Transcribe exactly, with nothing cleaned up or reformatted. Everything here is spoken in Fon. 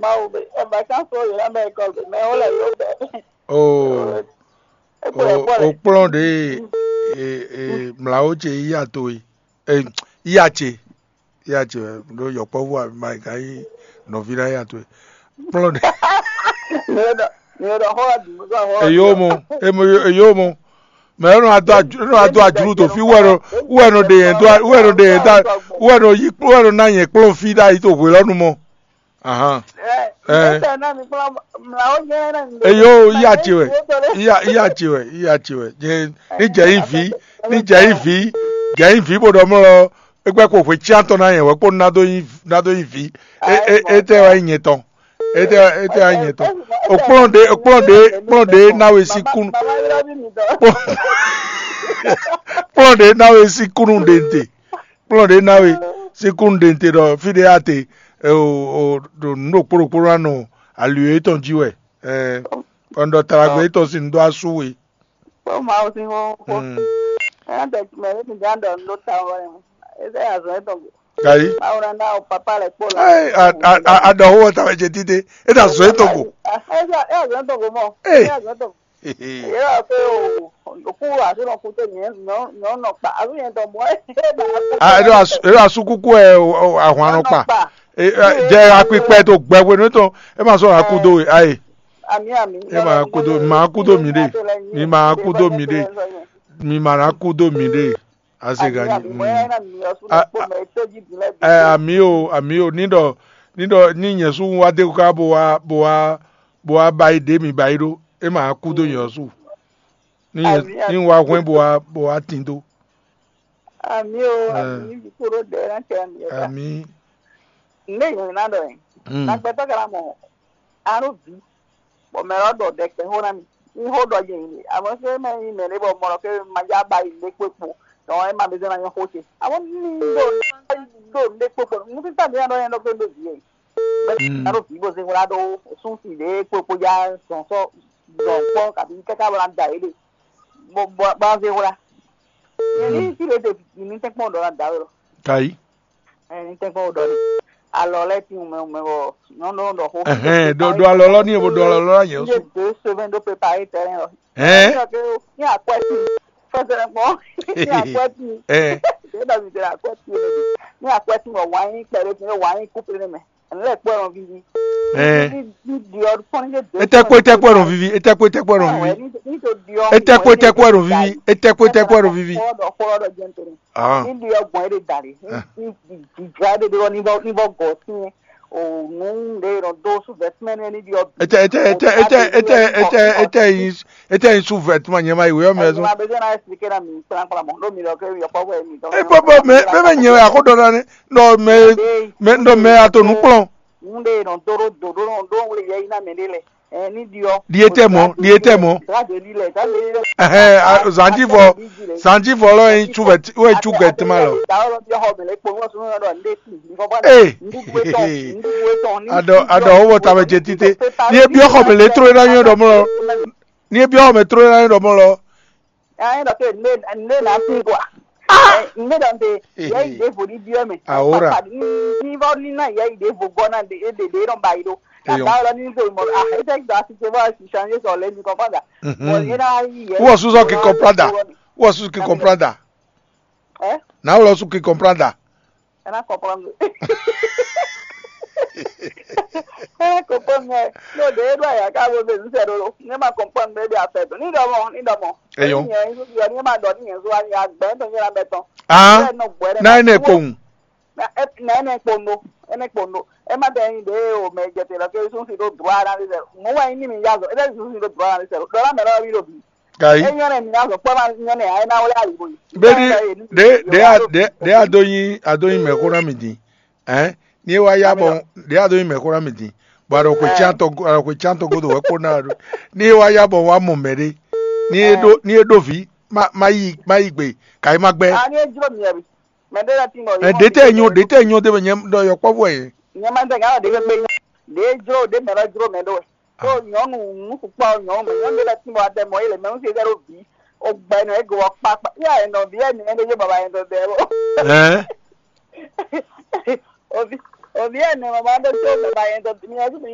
Mawu be, e ba kan so yě ná bɛ école be, mɛ wo lɛ yó bɛ. O, é kplɔ́n o, école. O kplɔ́n ɖě e, e, mlǎwó ce yí ato e, e, yí ace, yí ace wɛ ɖó yɔkpɔ́vú ma yi ka yí nɔví ná yí ato e. Kplɔ́n ɖě. Mi ɖɔ, mi ɖɔ xɔ ɖu, mi ɖɔ xɔ. Eyo mo, emo, eyo mo. Mɛ e nɔ adó adó ajlú to fí wɛ nɔ wɛ nɔ ɖe yɛn dó wɛ nɔ ɖe yɛn dó wɛ nɔ yí wɛ nɔ ná yɛn kplɔ́n fí ɖ'ayǐ to hwelɔ́nu mɔ. Ahan. Ɛ. Eyo, iya ce wɛ, iya iya ce wɛ, iya ce wɛ. Ní jɛ yí vǐ, ní jɛ yí vǐ, jɛ yí vǐ bó ɖɔ mlɔ é gbɛ́ kpo hwe cyán tɔn ná yɛn wɛ kpó ná dó yí ná dó yí vǐ. É é é tɛ wá nyí nyɛ tɔn. É tɛ é tɛ wá nyí nyɛ tɔn. O kplɔ́n ɖé o kplɔ́n ɖé kplɔ́n ɖé ná we sín kún. Kplɔ́n ɖé ná we sín kúnnú ɖe te. Kplɔ́n ɖě ná we sín kúnnu ɖe te ɖɔ fí ɖé ate o o ɖo nǔ ɖokpó ɖokpó ná nɔ ali yětɔn jí wɛ. Ɛ kɔn ɖɔ taɖagbe yětɔn sín nǔ dó asú we. Kpɔ́n Mawu sín xó xó. Mm. Ɛ́ ɖe mɛ ɖé mi gán ɖɔ nǔ ɖó ta wɛ. Eze azɔn yětɔn go. Gayi. Mawu ná ná o papa lɛ kpó la. Ɛ a a a a ɖɔ xó wɔ ta wɛ jɛ títí. E ta zɔn yětɔn go. Ɛ ɛ azɔn yětɔn go mɔ. Ee. Ɛ azɔn yětɔn go. Hehe. Yɛ wɔ pé o, òkú àti nɔ kú tɛ nyɛ nyɔ nyɔ nɔ kpa àti nyɛ tɔ mɔ ɛ. A ɖo asu ɖo asu kúkú ɛ o- o- ahwan nɔ kpa. E- e- Jɛ akpikpɛ to gbɛgbɛ nú tɔn. E ma sɔ akudo e ayi. Ami ami. E ma akudo ma akudo mi ɖe. Mi ma akudo mi ɖe. Mi ma na akudo mi ɖe. Ase gani. A- a- Ɛ ami o ami o ní ɖɔ ní ɖɔ ní nyɛ sú wá dé ká bó wá bó wá bó wá ba yi ɖě mi ba yi ɖó. E ma wá kú dó nyɛ ɔ́ su. Ní nyɛ Àmín, ní àmín. Wá hwɛ́n bó wá bó wá tin dó. Àmì o, Ẹ. Àmì ní bí kúrò dɛ ná kɛ àmì ɛ ta. Ami. Ní ìyẹn náà dọ̀ yẹn. Mm. Nàgbẹ́tọ́ kẹ́ra mọ̀ àrùn bí. Bọ̀ mẹ́rọ dọ̀ dẹ kẹ́ hó ná mi. Ní hó dọ̀ yẹn yìí. Àmọ́ ṣé mẹ́ yín mẹ́ ní bọ̀ mọ̀rọ̀ kí ma já ba yìí lé kpékpo. Dɔn ɛ ma bɛ zɛn na nyɔ xo ce. Àmọ́ ní do do lé kpékpo. Mo ti tàbí àdó yẹn dọ́ pé ló bì yẹn. Bẹ́ẹ̀ Mm. Àrò bí bó ṣe wúlá dó sún sì lé kpékpo já sọ̀nsọ̀ dọ̀ kpọ́ kàbí kẹ́kẹ́ bọ́lá da yìí lé. Bọ́ bọ́ bá ṣe wúlá. Yẹn ní Mm. Sì lè dè ní tẹ́kpọ́n dọ̀ la da wé lọ. Kayi. Ɛ ní tɛ́nkpɔ́n ɖɔ ní alɔ lɛ́ɛ tín mɛ mɛ wɔ nyɔ̌nu ɖɔ xó. Ɛhɛn, ɖo ɖo alɔ lɔ ní bo ɖo alɔ lɔ nyɛ Ní su. Deux semaines ɖó préparé terrain lɔ. Hɛn. Ní akwɛ tín fɛsɛ̀rẹ̀ kpɔn ní akwɛ tín. Ɛ. Ɖé dɔ mi tẹ̀lé akwɛ tín ní akwɛ tín wɔ wǎn yín kpɛɖé tín wǎn yín kúplé ní mɛ. Ɛnlɛ kpɔ́ nɔ vivi. Ɛ. Ní ní diɔ fɔn ní. Etɛkpó etɛkpó nɔ vivi, etɛkpó etɛkpó nɔ vivi. Ní ní to diɔ. Etɛkpó etɛkpó nɔ vivi, etɛkpó etɛkpó nɔ vivi. Kpɔ́ dɔ kpɔ́ dɔ jɛn tɛnɛ. Ah. Níbi ọgbọ̀n é lè dà lé. Ah. Níbi ìdìgbà é lè dúró níbọ̀ níbọ̀ gọ̀ sí yẹn. Òun lè ràn dó sùn vẹ́tímẹ́nì níbi ọ̀bì. Etɛ etɛ etɛ etɛ etɛ etɛ etɛ yin etɛ yin sùn vɛtuma nyɛ ma yi wéyɔ mɛ Ẹ̀yin sùn. Máa bẹ jẹ́ náà ẹ̀sìn kékeré mi kplákplamọ́ lómi lọ kí yọ̀pọ̀ wẹ̀ mi tán. E bɔbɔ mɛ mɛ mɛ nyɛ wɛ akɔdɔ na ne nɔ mɛ mɛ nɔ mɛ ato nu kplɔn. Ŋun ɖe nɔ dó ɖó dó ɖó nɔ ɖó wle yɛ yí ná mɛ ɖé lɛ. Ɛ ní ɖiɔ. Ɖietɛmɔ ɖietɛmɔ. Gade li lɛ gade li lɛ. Ɛhɛn, a- zanjivɔ zanjivɔ lɔ yin cu vɛ wɛ cu gɛ tema lɔ. Dawo lɔ biɔ xɔ mɛ lɛ kpɔn wɔ sunu lɔ ɖɔ nde ti. Ee. Adɔ adɔ owó ta mɛ jɛ tite. Ni e biɔ xɔ mɛ lɛ tró e na nyɔ ɖɔ mɔ lɔ. Ni e biɔ xɔ mɛ tró e na nyɔ ɖɔ mɔ lɔ. Ɛ ɖɔ ke ne ne na fi kwa. Ne ɖɔ nte yɛ yi ɖe vo ɖi biɔ mɛ. Awora. Ni vɔ ni na yɛ yi ɖe vo gɔ na ɖe ɖe ɖe nɔ ba yi ɖo. Eyɔn. Tata lɔ ni ko mɔ ah ete gba si se bɔ si change sɔ lɛ ni kɔkɔ da. Mɔ yɛ na yi yɛ. Wɔ susɔ ki comprendre. Wɔ susɔ ki comprendre. Ɛ. Na wɔ susɔ ki comprendre. Ena comprendre. Ena comprendre. No de edo ya ka bo be nse do. Ne ma comprendre be de affaire do. Ni do mo, ni do mo. Eyɔn. Ni yɛn so ni ma do ni yɛn so ani agbe to ni la beton. Ah. Na ene kpowun. Na ene kpondo, ene kpondo. E ma de ni de o me je te lo ke sun si do droit na de. Mo wa ni mi ya zo. E de sun si do droit na de. Do la me lo mi lo bi. Kai. Enyɔ́ nɛ mi ná zɔ kpɔ́ ná nyɔ́ nɛ ayé ná wlé alibo yi. Beni ɖe ɖe a ɖe ɖe a do nyi a do nyi mɛ̌xó ná mi din. Ɛn ní e wá yá bɔ ɖe a do nyi mɛ̌xó ná mi din. Bɔ a ɖɔ xwe cyán tɔ a ɖɔ xwe cyán tɔ godo wɛ kpó ná a ɖo. Ní e wá yá bɔ wá mɔ mɛ ɖé. Ní e ɖó ní e ɖó vǐ má má yi má yi gbe kai má gbɛ. A ní e jló mi ɛ bi. Mɛ ɖé lɛ tin bɔ. Ɛ ɖe tɛ nyɔ ɖe tɛ nyɔ ɖe mɛ nyɛ ɖɔ yɔkpɔ́vú ɛ. Nyɛ ma tɛ gán ɖe fɛ gbe nyɔ. Ɖe jló ɖe mɛ lɔ jló mɛ ɖó wɛ. Tó nyɔnu nukukpɔ nyɔnu mɛ nyɔnu ɖé lɛ tún bɔ adɛ mɔ yé le mɛ ŋutsu ɖé ɖo bǐ. O gbɛ nɔ ego wɔ kpakpa. Yá ɛ nɔ bǐ ɛ nɛ ɖé yé baba yɛ dɔ dɛ bɔ. Ɛɛ. Ovi ovi ɛ nɛ mama ɖó tó baba yɛ dɔ mi ɛ tún mi